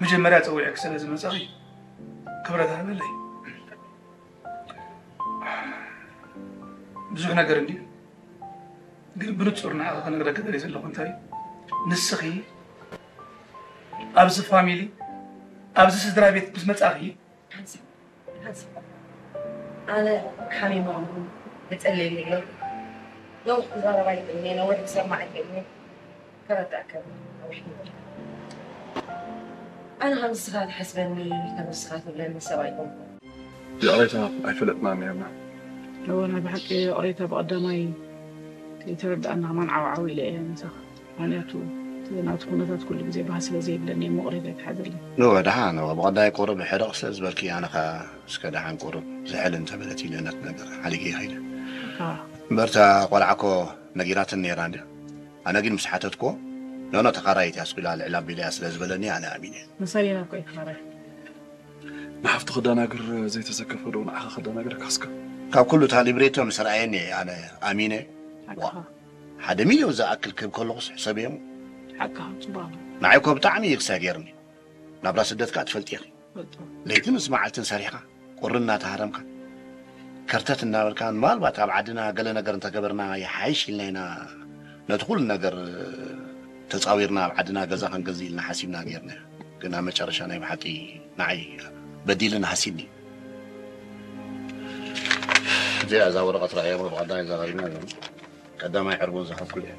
መጀመርያ ጸዊዐኪ ስለ ዝመጻኺ ክብረት ሃበለይ። ብዙሕ ነገር እንድዩ፣ ግን ብንጹር ንዓኺ ክነግረኪ ደልየ ዘለኹ እንታይ እዩ፣ ንስኺ ኣብዚ ፋሚሊ፣ ኣብዚ ስድራ ቤት ምስ መጻኺ፣ ሓንሳብ፣ ሓንሳብ። ኣነ ሓሚመ እሞ፣ ተጸልየኒ ኣሎ። ነዊሕ ክዛረብ ኣይክእልን እየ፣ ነዊሕ ክሰምዕ ኣይክእልን እየ። ከረዳእካ እየ። ኣነ ከም ንስኻ ትሓስበኒ፣ ከም ንስኻ ትብለኒ ሰብ ኣይኮንኩን። ይቕሬታ ኣይፈለጥናን ነርና። እወ፣ ናይ ብሓቂ ይቕሬታ ብቐዳማይ ከይተረዳእና ከማን ዓው ዓው ኢለ እየ ምሳኻ። ምኽንያቱ እቲ ናቱ ኩነታት ኩሉ ግዜ ባህሲ ስለ ዘይብለኒ እየ፣ ይቕሬታ ኣይትሓዘለይ። እወ፣ ደሓን፣ እወ፣ ብቐዳይ ቁሩብ ሕርቕ ስለ ዝበልኪ፣ ኣነ ኸኣ እስከ ደሓን ቁሩብ ዝሕል እንተበለት ኢለ ነቲ ነገር ሓሊገ ይኸይደ። ኣዎ። እምበር እታ ቆልዓ እኮ ነጊራትኒ ነይራ እንድያ። ኣነ ግን ምስ ሓተትክዎ፣ ኖኖ ተኻራይት እያ፣ ስቕ ኢላ ልዕል ኣቢለያ ስለ ዝበለኒ ኣነ ኣሚነ። መሳሊና እኮ እዩ ተኻራይ። ንሓፍቱ ከዳናግር ዘይተዘከፈ ዶ ንዓኻ ከዳናግረካ እስከ? ካብ ኩሉ እታ ሊብሬቶ ምስ ረኣየኒ እየ ኣነ ኣሚነ። ሓቅኻ። ሓደ ሚልዮን ዝኣክል ክህብ ከለኹስ ሕሰብዮ እሞ። ሓቅኻ፣ ጽቡቕ ኣሎ። ንዓይ እኮ ብጣዕሚ እዩ ክሳይ ገይርኒ። ናብራ ስደት ከኣ ትፈልጢ ኢኺ። ፈልጦ። ለይትን ምስ መዓልትን ሰሪሕካ፣ ቁሪ እናተሃረምካ፣ ከርተት እናበልካ፣ ምናልባት ኣብ ዓድና ገለ ነገር እንተገበርና ይሓይሽ ኢልና ኢና ነቲ ኩሉ ነገር ተጻዊርና ኣብ ዓድና ገዛ ክንገዝእ ኢልና ሓሲብና ጌርና። ግን ኣብ መጨረሻ ናይ ብሓቂ ንዓይ በዲልን ሃሲኒ። እዚኣ እዛ ወረቐት ረኣያ እሞ ብቐዳማይ ዘራሪብና ኣለና። ቀዳማይ ዕርቡን ዝኸፍል እየ።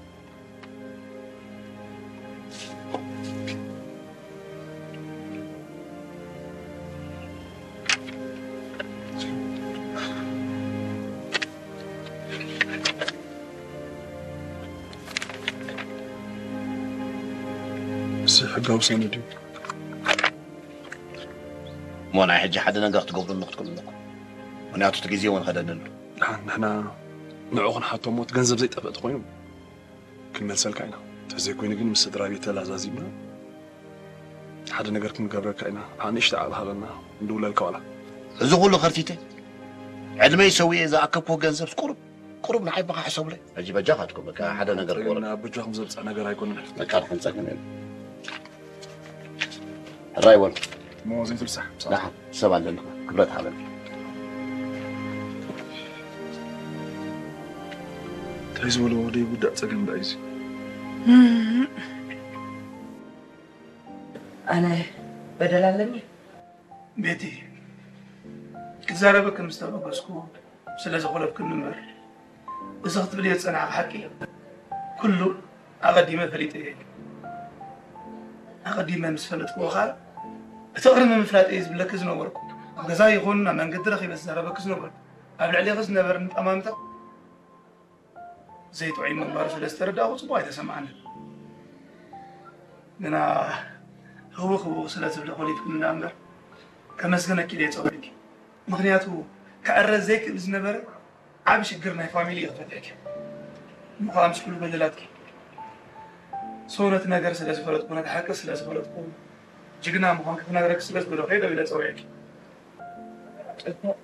እዚ ሕጋዊ ሰነድ እዩ። እሞ ናይ ሕጂ ሓደ ነገር ክትገብሩሉ ክትክእሉ ኣለኩም። ምኽንያቱ እቲ ግዜ እውን ኸደኒ ኣሎ። ደሓን ንሕና ንዕኡ ክንሓቶ እሞ እቲ ገንዘብ ዘይጠፍእ ተኾይኑ ክንመልሰልካ ኢና። እንተዘይኮይኑ ግን ምስ ስድራ ቤት ተላዛዚብና ሓደ ነገር ክንገብረካ ኢና። ንእሽቶ ዓቕሊ ሃበና፣ ንድውለልካ ዋላ። እዚ ኩሉ ከርቲተ ዕድመይ ሰዊኤ ዝኣከብኩዎ ገንዘብስ ቁሩብ፣ ቁሩብ ንዓይ በኻ ሕሰቡለይ። ሕጂ በጃኻትኩም በቃ ሓደ ነገር ግን ግበሩ። ኣብ በጃኹም ዘብጽሕ ነገር ኣይኮነን። በቃ ድሓን ጸገም የለን። ሕራይ በሉ። እሞ ዘይትርሳዕ። ደሓን ሰብ ኣለና። ክብረት ሃበኒ። እንታይ ዝበሎ ዘይውዳእ ጸገም ደኣ እዩ እዚ? ኣነ በደል ኣለኒ? ቤቲ፣ ክዛረበኪ ምስ ተበገስኩ ስለ ዘኾለፍክኒ እምበር፣ እዚ ክትብልዮ ዝጸናሕኪ ሓቂ ኩሉ ኣቐዲመ ፈሊጠ እየ። ኣቐዲመ ምስ ፈለጥክዎ ኸኣ፣ እቲ ቅድሚ ምፍላጠይ ዝብለኪ ዝነበርኩ፣ ኣብ ገዛ ይኹን ኣብ መንገዲ ረኺበ ዝዛረበኪ ዝነበርኩ፣ ኣብ ልዕሌኺ ዝነበረኒ ጠማምታ ዘይጥዑይ ምግባሩ ስለ ዝተረዳእኹ ጽቡቕ ኣይተሰምዓንን። ግና ህውኽ ህውኽ ስለ ዝብለ ኮሊፍክኒ ደኣ እምበር፣ ከመስግነኪ ኢለ እየ ጸዊዐኪ። ምኽንያቱ፣ ክዕረ ዘይክእል ዝነበረ ዓቢ ሽግር ናይ ፋሚሊ ኢኺ ፈቲሕኪ። እሞ ኸኣ ምስ ኩሉ በደላትኪ። So ነቲ ነገር ስለ ዝፈለጥኩ፣ ነቲ ሓቂ ስለ ዝፈለጥኩ፣ ጅግና ምዃንኪ ክነግረኪ ስለ ዝደለኹ እየ ደው ኢለ ጸዊዐኪ። ጽቡቕ።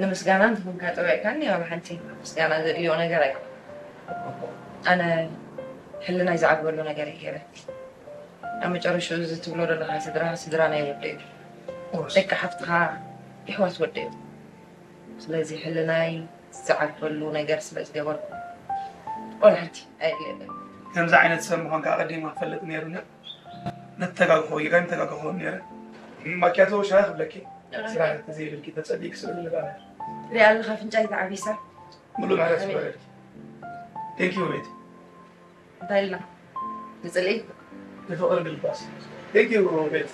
ንምስጋና እንተኾንካ ጸዊዕካኒ፣ ዋላ ሓንቲ ምስጋና ዘድልዮ ነገር ኣይኮነን። ኣነ ሕልናይ ዝዓግበሉ ነገር እየ ገይረ። ኣብ መጨረሽኡ እዚ ትብሎ ዘለኻ ስድራ፣ ስድራ ናይ ወደይ እዩ። እወ። ደቂ ሓፍትኻ የሕዋት ወደይ እዩ። ስለዚ ሕልናይ ዝዓግበሉ ነገር ስለ ዝገበርኩ፣ ዋላ ሓንቲ ኣየድልየንን። ከምዚ ዓይነት ሰብ ምዃንካ ኣቐዲመ ክፈልጥ ነይሩኒ። ነተጋግኾ ጌጋ ኣይምተጋገኹን ነይረ። ማኪያቶ ሻሂ ክብለኪ፣ ስራሕ እንተዘይብልኪ ተጸሊእኪ ስእሊ ንርኣ። ሪኣ ኣለኻ ኣፍንጫይ ተዓቢሳ። ሙሉእ ምሕረት ይግበረልኪ። Thank you ቤቲ። እንታይ ኢልና? ንጽልኢ? ንፍቕሪ ግልባስ። Thank you ቤቲ።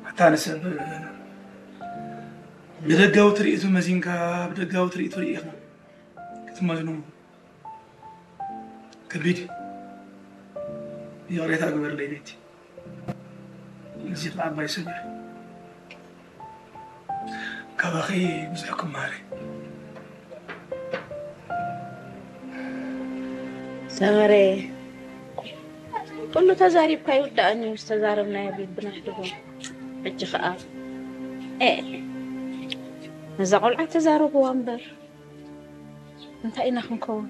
ኣታ ንሰብ ብደጋዊ ትርኢቱ መዚንካ ብደጋዊ ትርኢቱ ርኢኻ ክትመዝኖ ከቢድ እዩ። ይቕሬታ ግበርለይ ቤቲ። እዚ ከዓ ኣባይ ሰሚረ። ካባኺ ብዙሕ ክመሃር እየ። ሰመረ፣ ኩሉ ተዛሪብካ ይውዳእን እዩ፣ ዝተዛረብናዮ ቢብና ሕድጎ። ሕጂ ከዓ፣ ኤ፣ ነዛ ቆልዓ ተዛረብዋ እምበር፣ እንታይ ኢና ክንከውን?